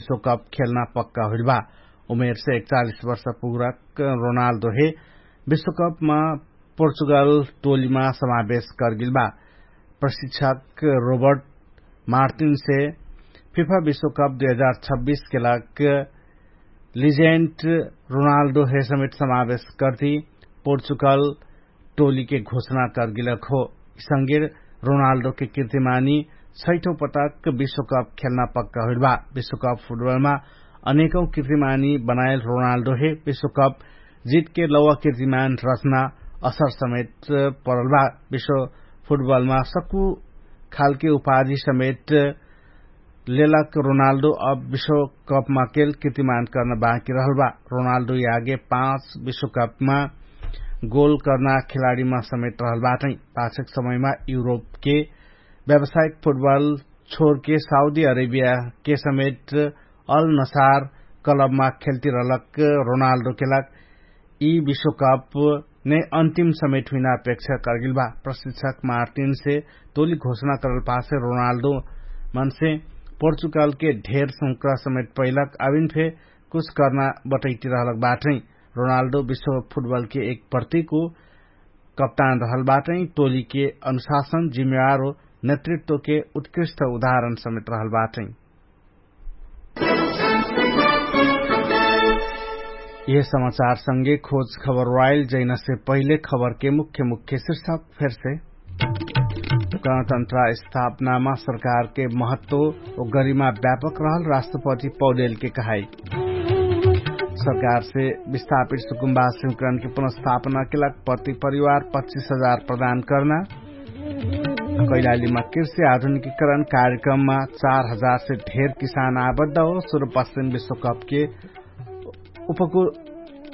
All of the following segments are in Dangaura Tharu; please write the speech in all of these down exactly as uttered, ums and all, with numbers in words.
विश्वकप खेल्न पक्का हुइल बा। उमेरसे एकचालिस वर्ष पुग्रक रोनाल्डो हे विश्वकपमा पोर्चुगल टोलीमा समावेश करगेल बा। प्रशिक्षक रोबर्ट मार्टिनसे फिफा विश्वकप दुई हजार छब्बिस के लाग लिजेन्ट रोनाल्डो हे समेट समावेश करती पोर्चुगल टोलीके घोषणा करगेलक हो। इसंगेर रोनाल्डोके किर्तिमानी छैठौं पटक विश्वकप खेल्न पक्का हुइल बा। विश्वकप फुटबलमा अनेकौं किर्तिमानी बनाएल रोनाल्डो हे विश्वकप जितके लौवा किर्तिमान रचना असर समेत परल बा। विश्व फुटबलमा सक्कु खालके उपाधि समेत लेलक रोनाल्डो अब विश्वकपमा केल किर्तिमान कर्न बाँकी रहल बा। रोनाल्डो यागे पाँच विश्वकपमा गोल कर्ना खेलाडीमा समेत रहल बाटै। पाछक समयमा युरोपके व्यावसायिक फुटबल छोरके साउदी अरेबियाके समेत अल नसार क्लबमा खेल्ती रहलक रोनाल्डो केलक यि विश्वकप ने अन्तिम समेट हुइना अपेक्षा करगेल बा। प्रशिक्षक मार्टिनसे तोली घोषणा करल पासे रोनाल्डो मनसे पोर्चुगलके ढेर संक्रा समेट पैलक अबिन फे कुछ कर्ना बटैती रहलक बाटै। रोनाल्डो विश्व फुटबलके एक प्रतिको कप्तान रहल बाटै। टोलीके अनुशासन जिम्मेवार हो नेतृत्वके उत्कृष्ट उदाहरण समेत रहल बाटै। यह समाचार संगे खोज खबर वाइल जैनसे पहिले खबरके मुख्य मुख्य शीर्षक फेरसे। गणतन्त्र स्थापनामा सरकारके महत्व ओ गरिमा व्यापक रहल राष्ट्रपति पौडेलके कहाई। सरकारसे विस्थापित सुकुम्बासिमकरणके पुनर्स्थापनाके लाग प्रति परिवार पच्चिस हजार प्रदान कर्ना। कैलालीमा कृषि आधुनिकीकरण कार्यक्रममा चार हजार से ढेर किसान आबद्ध हो सुरुपश्चिम विश्वकपके उपकुल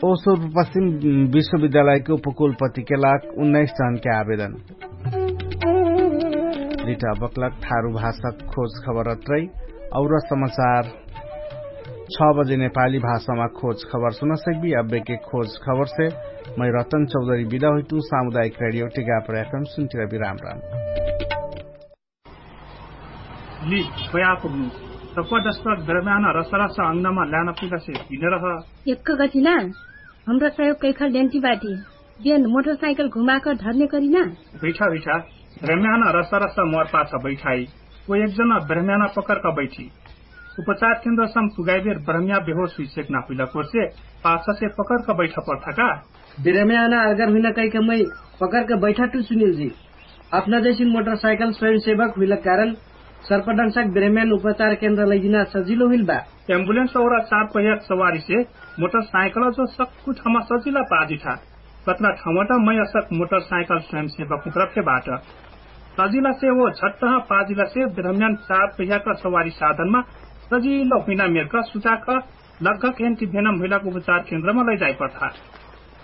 ओ सुरुपश्चिम विश्वविद्यालयके उपकुलपतिके लाग उन्नाइस जनके आवेदन। लिटा बक्लक ठारु भाषा खोज खबर अत्रै। और समाचार छ बजे नेपाली भाषामा खोज खबर सुनसक्बी। अब्बेके खोज खबरसे मै रतन चौधरी बिदा हुइतु। सामुदायिक रेडियो टिका प्रयाक्रम सुन्तिरा बिराम राम। लि, खोया पुग्नु। सप्पा दस्पक ब्रह्म्यान रसरस अंगनामा ल्यान पुगसे हिने रह। एक्क गतिना हमरा सहयोग कैखल डेन्टी बाटी। बेन मोटरसाइकल घुमाक धर्ने करिना। हुइठा हुइठा। ब्रह्म्यान रसरस मोर पाछ बैठाई। ओ एकजना ब्रह्म्यान पकरक बैठी। उपचार केन्द्रसम पुगाइबेर ब्रह्म्या बेहोस हुइसेक ना हुइला कोर्से पाछसे पकरक बैठा पर्थका। ब्रह्म्यान अर्गर हुइना कैक मै पकरक बैठा टु सुनिलजी। अपना जैसिन मोटरसाइकल स्वयंसेवक हुइलक कारण सर्पदंशक ब्रह्म्यान उपचार केन्द्र लैजिना सजिलो हुइल बा। एम्बुलेन्स और चार पहियाक सवारीसे मोटरसाइकल जो सक्कु ठामा सजिला पाजिठा। कत्रा ठाउँबाट मै असक मोटरसाइकल स्वयंसेवक उत्रफे बाट। सजिलासे ओ झट्टह पाजिलासे ब्रह्म्यान चार पहियाक सवारी साधनमा सजिलो हुइना मेरक सुचाक लगक एन्टिभेनम हुइलाक उपचार केन्द्रमा लैजाइपठा।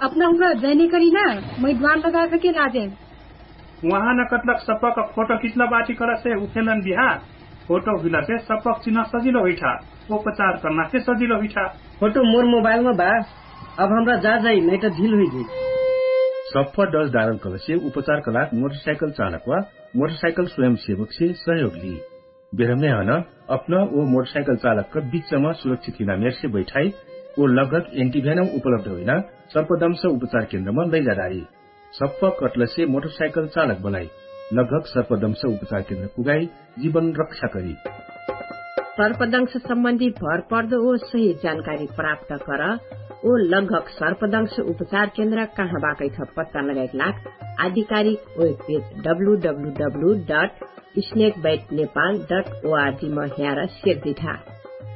अपना हुआ जैने करिना मै द्वान लगाक के लाजे। उहाँ न कत्लक सप्पक फोटो कित्ला बाटी करसे उठेलन बिहा। फोटो हुइलासे सप्पक चिन्ह सजिलो हुइठा। उपचार कर्नासे सजिलो हुइठा। फोटो मोर मोबाइलमा बा। अब हमरा जा जाइ नैट ढिल हुइजी। सप्प दस डारल कलसे उपचार कलाक मोटरसाइकल चालक वा मोटरसाइकल स्वयंसेवकसे सहयोग ली। बेरम्याहन अपना ओ मोटरसाइकल चालकक बिच्चमा सुरक्षित हुइना मेरसे बैठाइ ओ लगक एन्टिभ्यानम उपलब्ध हुइना सर्पदंश उपचार केन्द्रमा लैजाडारी। सप्प कटलसे मोटरसाइकल चालक बनाइ लगक सर्पदंश उपचार केन्द्र पुगाइ जीवन रक्षा करी। सर्पदंश सम्बन्धी भर पर्दो ओ सही जानकारी प्राप्त कर। ओ लगक सर्पदंश उपचार केन्द्र कहाँ बाकैठ पत्ता लगाइक लाग आधिकारिक webpage W W W dot snake byte Nepal dot ORG म ह्यार सेर्दिठा।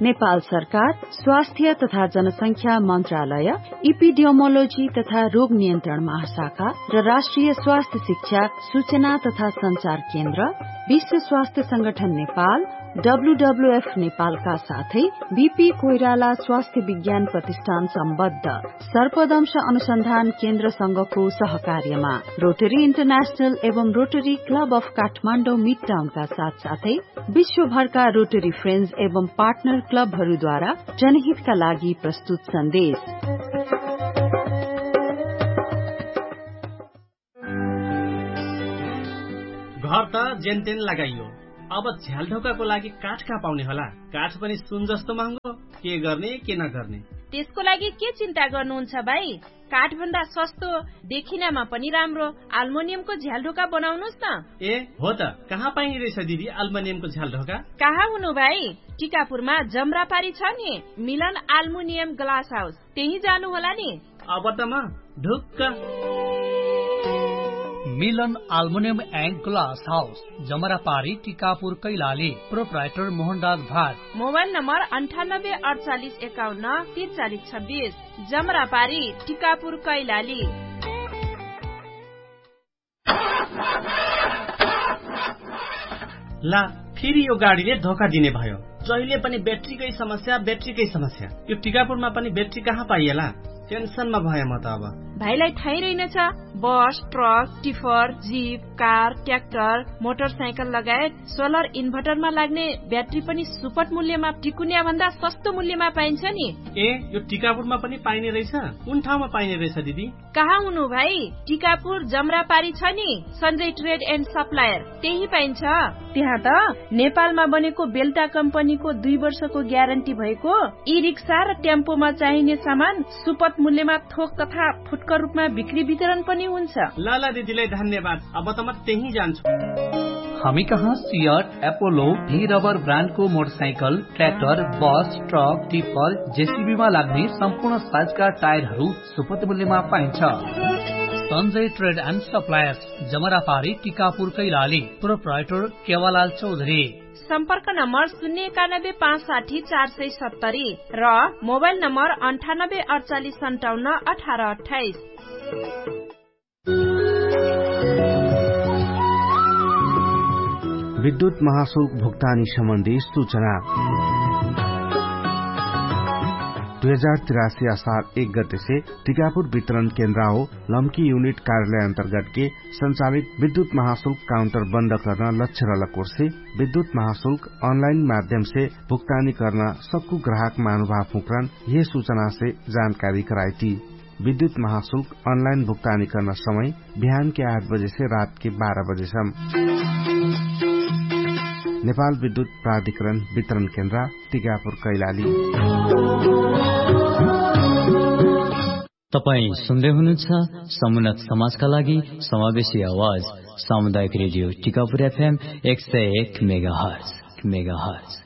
नेपाल सरकार स्वास्थ्य तथा जनसंख्या मन्त्रालय, इपिडियोमोलोजी तथा रोग नियन्त्रण महाशाखा र राष्ट्रिय स्वास्थ्य शिक्षा सूचना तथा सञ्चार केन्द्र, विश्व स्वास्थ्य संगठन नेपाल, डब्लुडब्लुएफ नेपालका साथै बिपी कोइराला स्वास्थ्य विज्ञान प्रतिष्ठान सम्बद्ध सर्पदंश अनुसन्धान केन्द्रसँगको सहकार्यमा रोटरी इन्टरनेशनल एवं रोटरी क्लब अफ काठमाडौँ मिडटाउनका साथसाथै विश्वभरका रोटरी फ्रेन्ड्स एवं पार्टनर क्लबहरूद्वारा जनहितका लागि प्रस्तुत सन्देश। घर त जेनतेन लगाइयो, अब झ्यालढोकाको लागि काठ कहाँ पाउने होला? काठ पनि सुन जस्तो महँगो। के गर्ने के नगर्ने? त्यसको लागि के चिन्ता गर्नुहुन्छ भाइ? काठभन्दा सस्तो देखिनामा पनि राम्रो आल्मोनियमको झ्यालढोका बनाउनुस् न। ए हो त, कहाँ पाइने रहेछ दिदी आल्मोनियमको झ्यालढोका? कहाँ हुनु भाइ? टिकापुरमा जमरापारी छ नि, मिलन आल्मोनियम ग्लास हाउस, त्यही जानु होला नि। अब त म ढुक्क। मिलन आल्मोनियम एन्ड ग्लास हाउस, जमरापारी टिकापुर कैलाली। प्रोप्राइटर मोहनराज भाट। मोबाइल नम्बर अन्ठानब्बे अडचालिस एकाउन्न तिन चालिस छब्बिस। जमरापारी टिकापुर कैलाली। ला, फेरि यो गाडीले धोका दिने भयो। जहिले पनि ब्याट्रीकै समस्या, ब्याट्रीकै समस्या। यो टिकापुरमा पनि ब्याट्री कहाँ पाइएला? टेन्सनमा भए म त अब। भाइलाई थाहै रहेनछ, बस, truck, tipper, zip, car, tractor, motorcycle लगायत सोलर इन्भर्टरमा लाग्ने ब्याट्री पनि सुपट मूल्यमा टिकुन्या भन्दा सस्तो मूल्यमा पाइन्छ नि। ए, यो टिकापुरमा पनि पाइने रहेछ? कुन ठाउँमा पाइने रहेछ दिदी? कहाँ हुनु भाइ? टिकापुर जमरापारी छ नि, सञ्जय ट्रेड एन्ड सप्लायर, त्यही पाइन्छ। त्यहाँ त नेपालमा बनेको बेल्टा कम्पनीको दुई वर्षको ग्यारेन्टी भएको ई रिक्सा र टेम्पोमा चाहिने सामान सुपट मूल्यमा थोक तथा फुटकर रूपमा बिक्री वितरण पनि हुन्छ। ल ल दिदीलाई धन्यवाद, अब त म त्यही जान्छु। हामी कहाँ सियट, एपोलो, डी रबर ब्रान्डको मोटरसाइकल, ट्र्याक्टर, बस, ट्रक, टिपर, जेसिबीमा लाग्ने सम्पूर्ण साइजका टायरहरू सुपट मूल्यमा पाइन्छ। सञ्जय ट्रेड एन्ड सप्लायर्स, जमरापारी, टिकापुर कैलाली। प्रोप्राइटर केवालाल चौधरी। सम्पर्क नम्बर शून्य एकानब्बे पाँच साठी चार सय सत्तरी र मोबाइल नम्बर अन्ठानब्बे अडचालिस सन्ताउन्न अठार अट्ठाइस। विद्युत महाशुल्क भुक्तानी सम्बन्धी सूचना। दुई हजार तिरासी असार एक गतेसे टिकापुर वितरण केन्द्र हो लम्की युनिट कार्यालय अन्तर्गतके सञ्चालित विद्युत महाशुल्क काउन्टर बन्द कर्न लक्ष्य रलकोर्से विद्युत महाशुल्क अनलाइन माध्यमसे भुक्तानी कर्न सक्कु ग्राहक महानुभाव फुक्रान यह सूचनासे जानकारी कराइती। विद्युत महाशुल्क अनलाइन भुक्तानी कर्न समय बिहानके आठ बजेसे रातके बाह्र बजेसम। नेपाल विद्युत प्राधिकरण वितरण केन्द्र टिकापुर कैलाली। तपाईं सुन्दै हुनुहुन्छ समुन्नत समाजका लागि समावेशी आवाज सामुदायिक रेडियो टिकापुर एफएम एक सय एक मेगाहर्ज।